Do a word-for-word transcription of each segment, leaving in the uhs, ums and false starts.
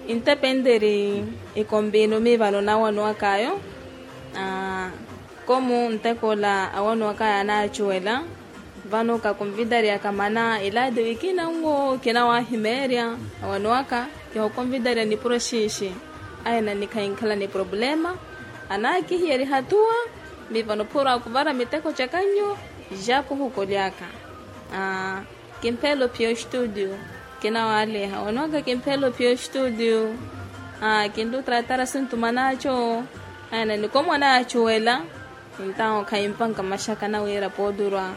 Intepenteri ikompino mi vano nawanowak'ayo. Komu nteko ola awanowak'ayo anaacuwela. Vano kakonvidariyaka mana ilaati wi kinanwo kinawahimeerya awanowaka. Kihokonvidarya nipuro xiixi. Aye nannikhayi nkhala ni problema. Anaakihiyeriha tuwa. Mi vano phuro akuvara miteko caka nyu. Japu hukolyaka. Kimphelo pio studio. Kinawaaleha onwaka kimphelo pio studio. Kinlutratara sintumana aco. Aya nanikomo anaacuwela. Entawo khayimpanka maxaka nawira poodurwa.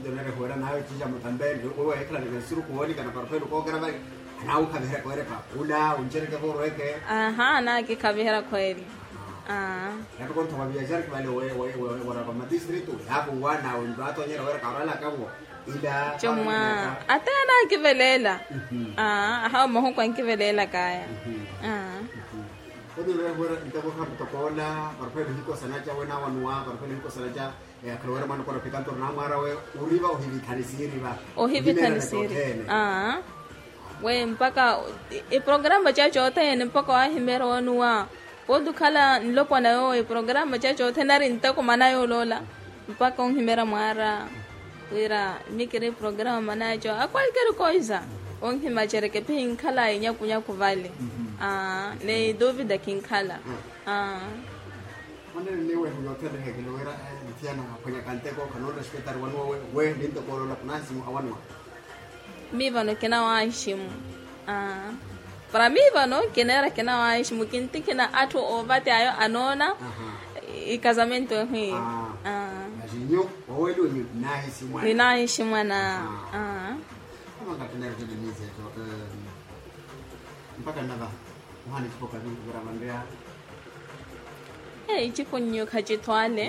Nto nari huwera nawe cica mutambe nluku weekhala ni kansiru kuwonikana parofelo kookera vale. Anaawukhaviherya khweereka ula uncereke vorweke. Aha anaakikhaviherya khweeri. Aa. Yapi kontho wa viaxari kivale. Wera va madistritu yaakuwa nawe nto atonyera wera karwalaka vo. Ila comwa. Ate anaakiveleela. Aa ahawa mahuku ankiveleelakaya. Aa. Koni wera wera nteko kharu tokoola. Parofelo hikosana ca wenawanuwa parofelo hikosana ca. Akhala wera mwana okora phika nto ori namwaara we oriva ohivithani siiriva. Ohivithani siiri. Aa. We mpakha iprograma caco othene mpakha wahimeera wanuwa. Pooti okhala nlopwana yoowo iprograma caco othene nari nteko mana yooloola. Mpakha onhimeera mwaara wira mikiri iprograma mana yaco akwalkeri koisa. Onhimacereke phi nkhala inyakunyaku vale. Aa ni duvida khinkhala. Aa. Mwanene ni wehu yothene ehekelo wira nthiyana aphwanyaka nteko khanoona xipetari wanuwa we ni nteko oloola khunansimu awanuwa. Mi vano kinawahiximu. Para mi vano kineera kinawahiximu kintikhina atthu ovaty'ayo anoona. Ikazamento ehu iyo. Ninahiximu ana. Mpakha nnava. Muhana ecipo kavi nkuvirava nreya. Ecipo nnyu khacithwale.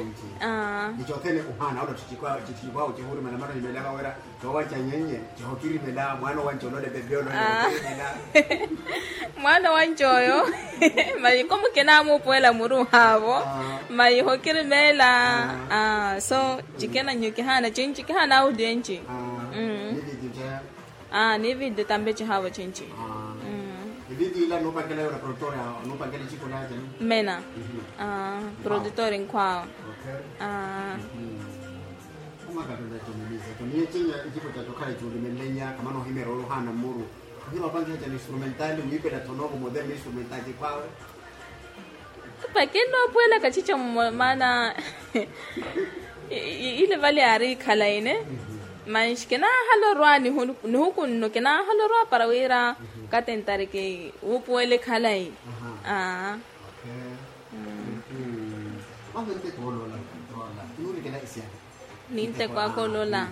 Ni cothene uhaana ola ttitthikwaawe cihurimela mara onimela vawera. Cowaca nyenye cihokirimela mwaana owanci olole pepe olole. Mwaana owanci oyo. Mayi komu kinaamuupuwela muruhaavo. Mayi hokirimela. So cikina nnyu kihaana cinci kihaana audio enci. Aa ni video tambe cihaavo cinci. Eviti ila nuupankela yoona produtor. Nuupankela ecipo naacani. Mmena. Produtor nkhwaawo. Aa. Omakatona ecomelisa toniye cinya ecipo caco okhala ecuulimenlenya kamana ohimeera ori ohaana mmuru. Ohira opankiha cani instrumental wiipela thonooko modern instrumental cikhwaawe. Pake nnoopuwela kacica mmo maana. Ile vale yaari khalayi ne. Manxi kinaahala orwa nihuku nno kinaahala orwa para wira katentari kiwuupuwele khalayi. Aa. Ninteko aka olola.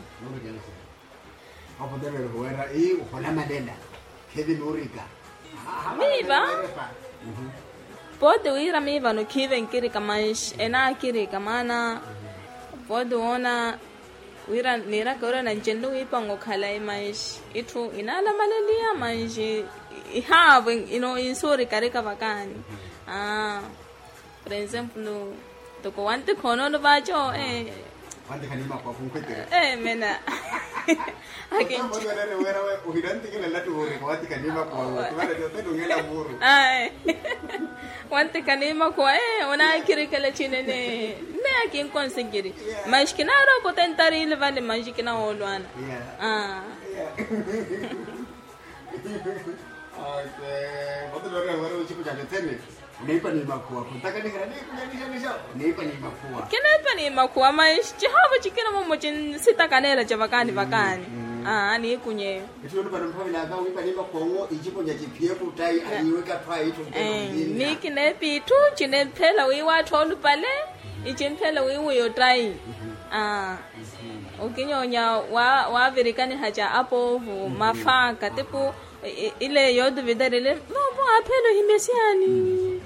Opotevela ohuwera ii oholamalela. Khevi nuurika. Miiva. Pooti wira miivano khiive nkirika manxi enaakirika maana. Pooti woona wira niiraka wira nancenle wiipanga okhalayi manxi itthu inaalamaleliya manxi ihaavo. Ino insuurikarika vakaani. Aa. Por enzemplo toko wantikha onono vaaco. Wantikha niimakhuwa khunkhweteri. Mena. Akinci. Ohirantikela lattu vuurika wantikha niimakhuwa. Wantikha niimakhuwa onaakirikela cinene. Nne akinkonsikiri. Manxi kinaari okutentari ile vale manxi kinawoolwana. Aa. Ocipo caco thene. Oneepa ni makhuwa khuntakanihela niikunyanihanixa. Oneepa ni makhuwa. Kineepa ni makhuwa manxi cihaavo cikina momo cinsitakaneela ca vakaani vakaani. Aa niikunyeeyo. Itthu yoolupale mphavelaka wiipa ni makhuwa nwo iciponya ciphiye kuttayi aniiweka atthu a itthu. Ni kineepa itthu cinemphela wiiwa atthu oolupale. Icimphela wiiwa oyo ottayi. Aa. Okinyonya waavirikaniha ca apoovo mafaaka tipu. Ile yootuvitarile voovo aaphela ohimya siyani.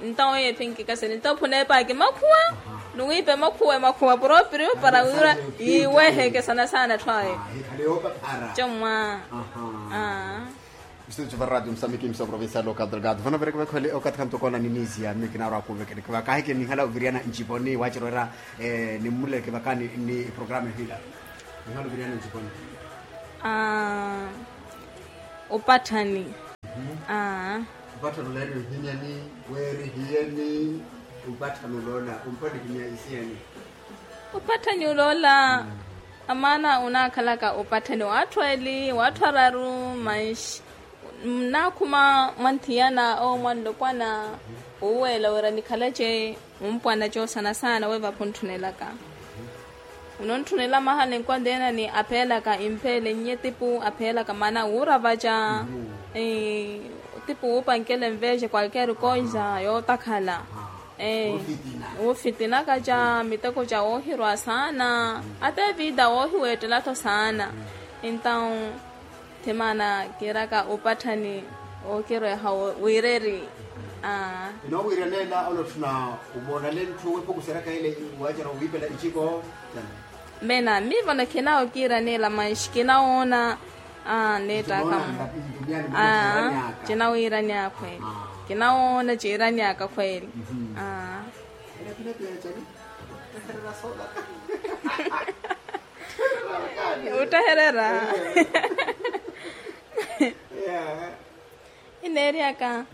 Ntawo yeephi nkikasele ntawo phuneepaaki makhuwa. Nuwiipe makhuwa makhuwa propriu para wira yiiwehe ekesana saana atthu ayo. Comwa. Aa. Estúdio va radio moçambique emissão provincial local delgado vano vireke vekhole okathi khanto koona ninisiya mmi kinaarwa kuvekereke vakaheke nihala oviriyana nciponi wacerwera. Nimmuleke vakani ni programa ehila. Nihala oviriyana nciponi. Aa. Opatthani. Aa. Opatthani oloola eri ohimyani? Weeri hiyeni? Opatthani oloola ompatthani ohimya isiyani? Opatthani oloola. Amaana onaakhalaka opatthani w'atthu eli w'atthu araru manxi nnaakhuma mwanthiyana owo mwanlopwana. Owuweela wira nikhalace mumpwana coosana saana weevapo ontthunnelaka. Onontthunnela mahala enkwanteyana ni apheelaka impheele nnye tipu apheelaka maana wuuravaca. Tipu wuupankela enveexe kwalkeeri koisa yootakhala. Wuufitinaka ca miteko ca woohirwa saana. Ata evida woohiweettela-tho saana. Entaw thimaana kiiraka opatthani ookirweha wiireri. Aa. Inowiiraneela olotthuna omoonale ntthu wepukuseryaka ele waacerya owiipela iciko. Mena miivono khinawo kiiraneela manxi kinawoona. Aa neettaka. Aa. Cinawiirani akhweeli. Kinawoona ciirani aka khweeli. Aa. Wuttehererya. Ineeryaka.